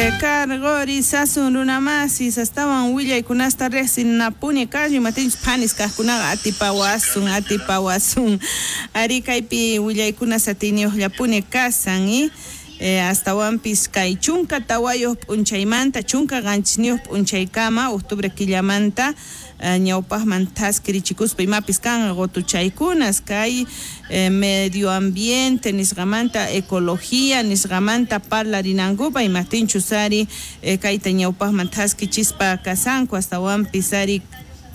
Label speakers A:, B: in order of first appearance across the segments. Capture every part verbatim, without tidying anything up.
A: Karqurisasun runamasis astawan willaykunasta riqsinapuni kallu imatinchus phanis kaqkunaqa atipawasun atipawasun ari kaypi willaykunas atiyniyuqllapuni kasan y eh, astawanpis kay chunka tawayuq p'unchaymanta chunka qanchisniyuq p'unchaykama octubre killamanta ñawpaqman thaskirichikuspa imapis kanqa qutuchaykunas kay eh, medio ambiente nisqamanta ecología nisqamanta parlarinankupa imaptinchus ari eh, kayta ñawpaqman thaskichispa kasanku astawanpis ari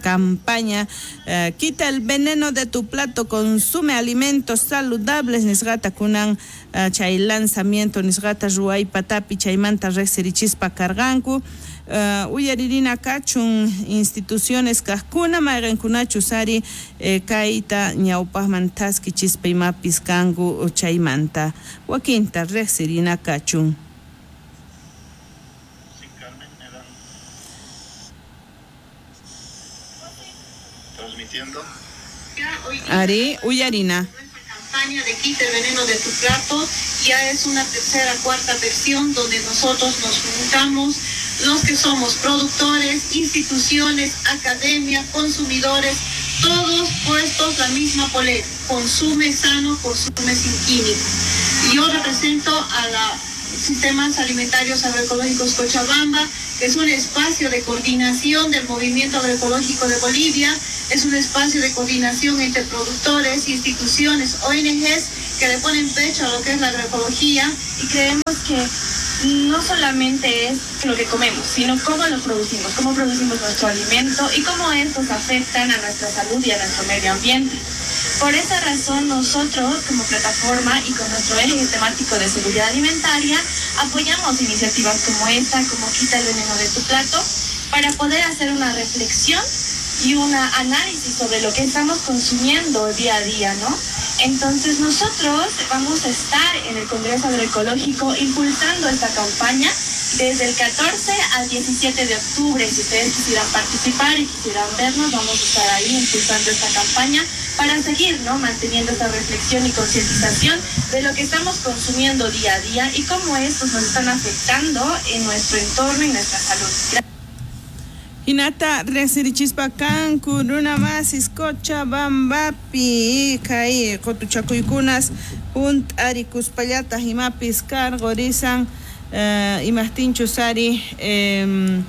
A: campaña eh, quita el veneno de tu plato, consume alimentos saludables nisqata kunan uh, chay lanzamiento nisqata ruway patapi chaymanta riqsirichispa karqanku. Uh, uyaririna kachun instituciones kaqkuna mayqinkunachus ari eh, kayta ñawpaqman thaskichispa imapis kanku chaymanta wakinta riqsirina kachun.
B: Sí, Carmen, me dan transmitiendo.
A: Ari, uyarina.
C: Campaña de Quita el veneno de tu plato ya es una tercera, cuarta versión donde nosotros nos juntamos los que somos productores, instituciones, academia, consumidores, todos puestos la misma polea, consume sano, consume sin químicos. Y yo represento a la Sistemas Alimentarios Agroecológicos Cochabamba, que es un espacio de coordinación del movimiento agroecológico de Bolivia, es un espacio de coordinación entre productores, instituciones, O N Ges que le ponen pecho a lo que es la agroecología.
D: Y creemos que no solamente es lo que comemos, sino cómo lo producimos, cómo producimos nuestro alimento y cómo estos afectan a nuestra salud y a nuestro medio ambiente. Por esa razón, nosotros como plataforma y con nuestro eje temático de seguridad alimentaria, apoyamos iniciativas como esta, como Quita el veneno de tu plato, para poder hacer una reflexión y un análisis sobre lo que estamos consumiendo día a día, ¿no? Entonces nosotros vamos a estar en el Congreso Agroecológico impulsando esta campaña desde el catorce al diecisiete de octubre. Si ustedes quisieran participar y quisieran vernos, vamos a estar ahí impulsando esta campaña para seguir, ¿no?, manteniendo esta reflexión y concientización de lo que estamos consumiendo día a día y cómo estos nos están afectando en nuestro entorno y nuestra salud. Gracias.
A: Hinata riqsirichispa kanku runamasis Cochabambapi kay qutuchakuykunas hunt'arikuspallataq imapis karqurisan eh, imaqtinchus ari eh,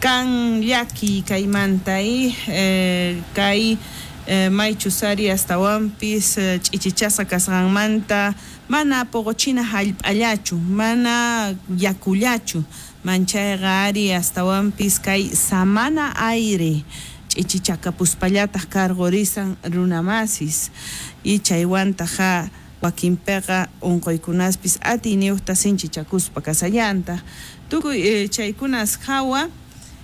A: kan llaki kaymanta y eh, kay eh, maychus ari astawanpis eh, ch'ichichasqa kasqanmanta mana poqochina hallp'allachu mana yakullachu manchayqa ari astawanpis kay samana aire ch'ichichakapuspallataq karqurisan runamasis y chaywantaqa wakinpiqa unquykunaspis atiyniyuqta sinchichakuspa kasallantaq tukuy eh, chaykunas hawa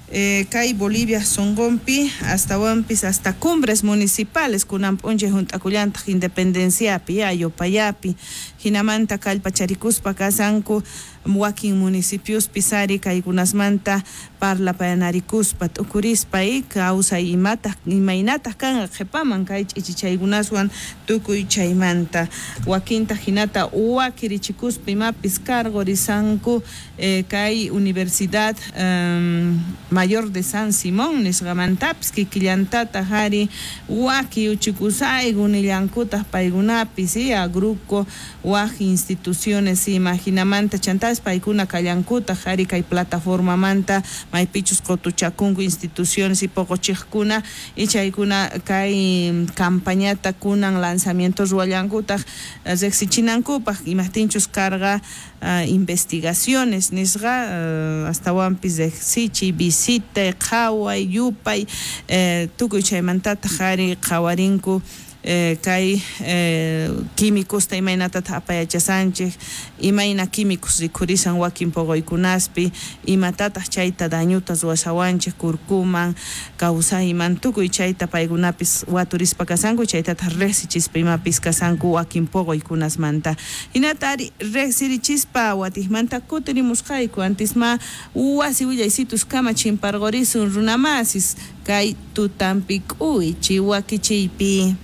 A: eh, kay Bolivia sunqunpi astawanpis hasta cumbres municipales kunan p'unchay hunt'akullantaq independenciapi ayopayapi hinamanta kallpacharikuspa kasanku wakin municipiospi ari kaykunasmanta parlapayanarikuspa t'ukurispa y kawsay imataq imaynataq kanqa qhipaman kay ch'ichichaykunaswan tukuy chaymanta wakinta hinata wakirichikuspa imapis karqurisanku eh, kay Universidad um, Mayor de San Simón nisqamantapis kikillantataq ari waki uchikusayku nillankutaq paykunapis y agruco waj instituciones ima hinamanta chantas paykuna kallankutaq ari kay plataformamanta maypichus qutuchakunku instituciones y poqochiqkuna y chaykuna kay campañata kunan lanzamiento ruwallankutaq riqsichinankupaq imaqtinchus karqa uh, investigaciones nisqa uh, astawanpis riqsichiy visita qhaway yupay eh, tukuy chaymantataq ari qhawarinku Eh, kay eh, químicosta imaynatataq apayachasanchik imayna químicos rikhurisan wakin poqoykunaspi imatataq chayta dañuta ruwashawanchik kurkuman kawsayman tukuy chayta paykunapis waturispa kasanku chaytataq riqsichispa imapis kasanku wakin poqoykunasmanta hinata ari riqsirichispa watiqmanta kutirimusqayku antisma wasi willaysitus kama chimparqurisun runamasis kay tutampi k'uychi wakichiypi.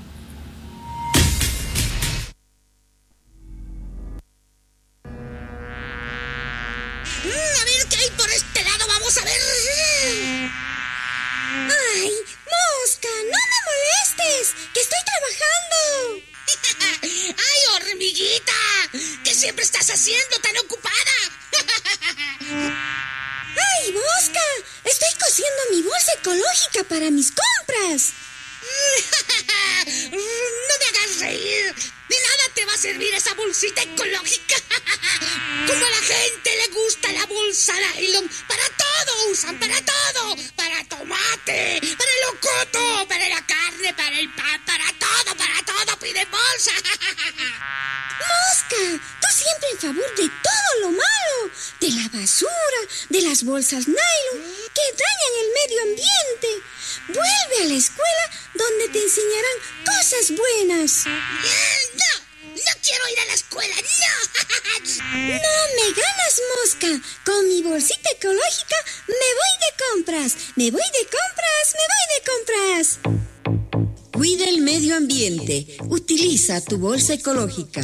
E: Mm,
B: Vamos a ver.
E: ¡Ay, Mosca! ¡No me molestes! ¡Que estoy trabajando!
B: ¡Ay, hormiguita! ¿Qué siempre estás haciendo tan ocupada?
E: ¡Ay, Mosca! Estoy cosiendo mi bolsa ecológica para mis compras.
B: ¡No me hagas reír! De nada te va a servir esa bolsita ecológica. Como a la gente le gusta la bolsa nylon, para todo usan, para todo. Para tomate, para el locoto, para la carne, para el pan, para todo, para todo piden bolsa.
E: Mosca, tú siempre en favor de todo lo malo, de la basura, de las bolsas nylon que dañan el medio ambiente. Vuelve a la escuela donde te enseñarán cosas buenas.
B: No, no quiero ir a la escuela, no.
E: No me ganas, Mosca. Con mi bolsita ecológica me voy de compras. Me voy de compras, me voy de compras.
F: Cuida el medio ambiente. Utiliza tu bolsa ecológica.